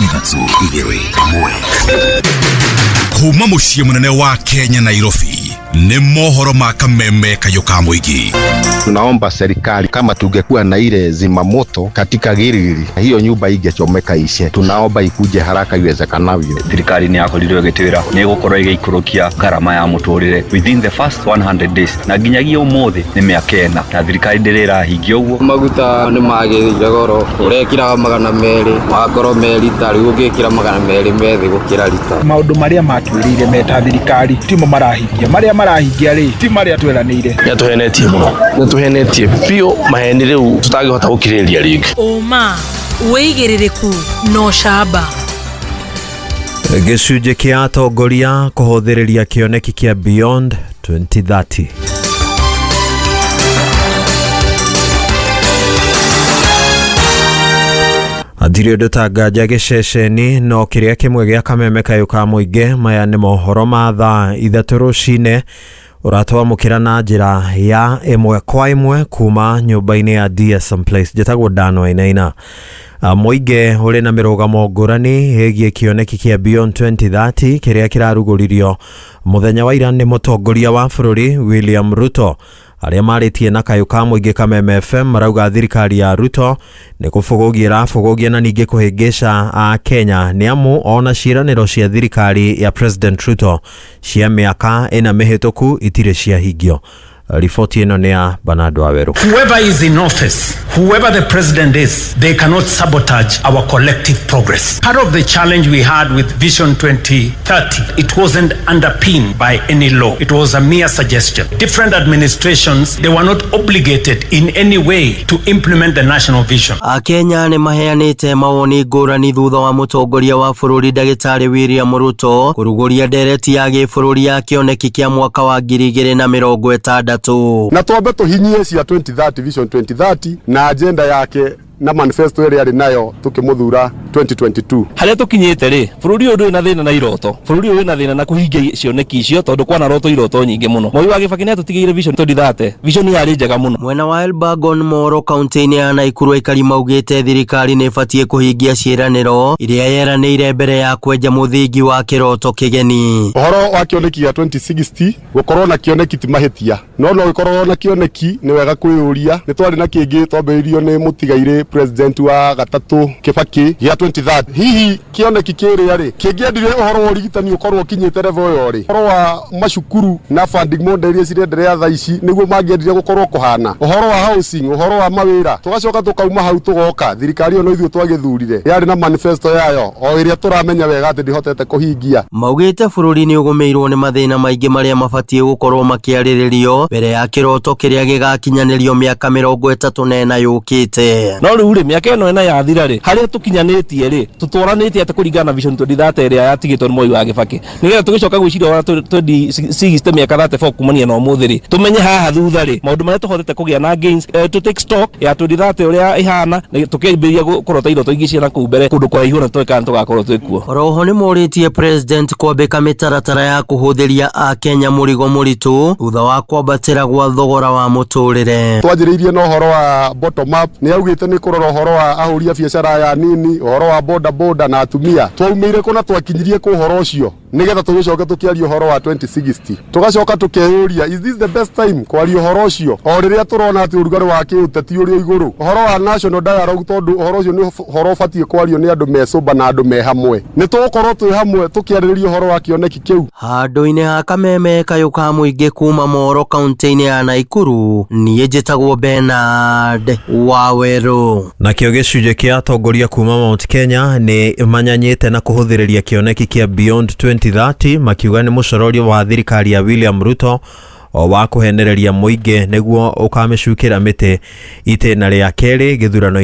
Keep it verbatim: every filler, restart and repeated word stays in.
Ithatũ igĩrĩ ĩmwe. Kuma mũciĩ mũnene wa Kenya Nairobi nĩ mohoro ma kameme kayũ ka mũingĩ. Tunaomba serikali, kama tungekuwa na ile zimamoto katika Gilgili, hiyo nyumba ingechomeka ishe. Tunaomba ikuje haraka iwezekanavyo. Thirikari nĩ yakorirwo ĩgĩtwĩra nĩ ĩgũkorwo ĩgĩikũrũkia ngarama ya mũtũrĩre within the first one hundred days, na nginyagia ũmũthĩ nĩ mĩaka ĩna na thirikari ndĩrĩ ĩrahingia ũguo. Maguta nĩ magĩrĩire goro, ũrekĩraga magana merĩ magakorwo me rita, rĩu ũngĩkĩra magana merĩ me thĩ gũkĩra rita. Maũndũ marĩa matwĩrĩire meta thirikari timo marahingia, marĩa marahingia rĩ ti marĩa tweranĩire. Nĩ atũhenetie mũno, nĩ atũhenetie biũ, maheni rĩu tũtangĩhota gũkirĩrĩria rĩngĩ. Ũma, wĩigĩrĩrĩku na ũcamba. Gĩcunjĩ kĩa atongoria kũhũthĩrĩria kĩoneki kĩa Beyond twenty thirty. Hatirĩ ũndũ ta nganja gĩceceni no kĩrĩa kĩmwe gĩa kameme kayũ ka mũingĩ. Maya nĩ mohoro ma thaa ithatũ rũcinĩ, ũratwamũkĩra na njĩra ya ĩmwe kwa ĩmwe kuma nyũmba-inĩ ya D S M Place. Njĩtagwo Dano Wainaina. Mũingĩ ũrĩ na mĩrũgamo ngũrani ĩgiĩ kĩoneki kĩa Beyond twenty thirty kĩrĩa kĩrarugũririo mũthenya wa ira nĩ mũtongoria wa bũrũri William Ruto. Arĩa marĩtie na kayũ ka mũingĩ Kameme F M marauga thirikari ya Ruto nĩ kũbũgũgia ĩrabũgũgia na ningĩ kũhĩngĩca a Kenya, nĩ amu ona ciĩranĩro cia thirikari ya President Ruto cia mĩaka ĩna mĩhĩtũku itirĩ ciahingio. Riboti ĩno nĩ ya Bernard Waweru. Whoever is in office, whoever the president is, they cannot sabotage our collective progress. Part of the challenge we had with Vision twenty thirty, it wasn't underpinned by any law. It was a mere suggestion. Different administrations, they were not obligated in any way to implement the national vision. Akenya nĩ maheanĩte mawoni ngũrani thutha wa mũtongoria wa bũrũri ndagĩtarĩ William Ruto kũrugũria ndereti ya gĩbũrũri ya kĩoneki kĩa mwaka wa ngiri igĩrĩ na mĩrongo ĩtandatũ. Na twambe tũhinyie cia twenty thirty, Vision twenty thirty na agenda yake na manifesto ĩrĩa arĩ nayo tũkĩmũthura twenty twenty-two. Harĩa tũkinyĩte rĩ, bũrũri ũyũ ndũrĩ na thĩna na iroto, bũrũri ũyũ wĩna thĩna na kũhingia cioneki icio, tondũ kwana roto iroto nyingĩ mũno. Moi wa Kibaki nĩ atũtigĩire Vision twenty thirty, vision yarĩ njega mũno. Mwena wa Elbagon Moro kaunti-inĩ ya Naikuru, aikari maugĩte thirikari nĩ ĩbatiĩ kũhingia ciĩranĩro iria yeranĩire mbere ya kwenja mũthingi wa kĩroto kĩgeni. Ũhoro wa kĩoneki gĩa twenty sixty, gũkorwo na kĩoneki ti mahĩtia, no no gĩkorwo na kĩoneki nĩ wega kwĩyũria. Nĩ twarĩ na kĩngĩ twambĩrĩirio nĩ mũtigairĩ president wa gatatũ Kibaki gĩa twenty thirty. Hihi kĩoneki kĩrĩa rĩ kĩngĩendire ũhoro wa ũrigitani ũkorwo ũkinyĩte level ĩyo rĩ, ũhoro wa macukuru na funding model iria cirenderea thaa ici nĩguo mangĩendire gũkorwo kũhana, ũhoro wa housing, ũhoro wa mawĩra? Tũgacoka tũkauma hau, tũgoka thirikari ĩyo no ithuĩ twagĩthurire, yarĩ na manifesto yayo o ĩrĩa tũramenya wega atĩ ndĩhotete kũhingia. Maugĩte bũrũri nĩ ũgũmĩirwo nĩ mathĩna maingĩ marĩa mabatiĩ gũkorwo makĩarĩrĩrio mbere ya kĩroto kĩrĩa gĩgakinyanĩrio mĩaka mĩrongo ĩtatũ na ĩna yũkĩte. No rĩu rĩ, mĩaka ĩno ĩna yathira rĩ, harĩa tũkinyanĩtie rĩ, tũtwaranĩtie atĩ kũringana na Vision twenty thirty ĩrĩa yatigĩtwo nĩ Moi wa Kibaki, nĩgetha tũgĩcoka gwĩciria ũrĩa twenty sixty, mĩaka thirty-four kumania na ũmũthĩ rĩ, tũmenye haha thutha rĩ maũndũ marĩa tũhotete kũgĩa na gains, eh, to take stock ya twenty thirty ũrĩa ĩhana na tũkĩambĩrĩria kũrota iroto ingĩ ciana kũu mbere kũndũ kũraihu na tũĩ kana tũgakorwo twĩ kuo. Oroho nĩ morĩtie president kwambĩka mĩtaratara ya kũhũthĩria akenya mũrigo mũritũ thutha wa kwambatĩra gwa thogora wa mũtũrĩre. Twanjĩrĩirie na ũhoro wa bottom up, nĩ augĩte nĩ kũrora ũhoro wa ahũri a biacara aya nini, ũhoro wa boda boda na atumia. Twaumĩire kũ na twakinyirie kũ ũhoro ũcio, nĩgetha tũgĩcoke tũkĩaria ũhoro wa twenty sixty? Tũgacoka tũkeyũria, is this the best time kwaria ũhoro ũcio o rĩrĩa tũrona atĩ ũrugarĩ wa kĩũteti ũrĩ o igũrũ, ũhoro wa national dialogue? Tondũ ũhoro ũcio nĩ ũhoro ũbatiĩ kwario nĩ andũ me sober na andũ me hamwe. Nĩ tũgũkorwo twĩ hamwe tũkĩarĩrĩria ũhoro wa kĩoneki kĩu. Handũ-inĩ ha kameme kayũ ka mũingĩ kuma Moro kaunti-inĩ ya Naikuru, niĩ njĩtagwo Bernard Waweru. Nakĩo gĩcunjĩ kĩa atongoria kuma Mount Kenya nĩ manyanyĩte na kũhũthĩrĩria kĩoneki kĩa Beyond twenty thirty, makiuga nĩ mũcororio wa thirikari ya William Ruto o wa kũhenereria mũingĩ nĩguo ũkamĩcukĩra mĩtĩ itĩna rĩa kerĩ gĩthurano.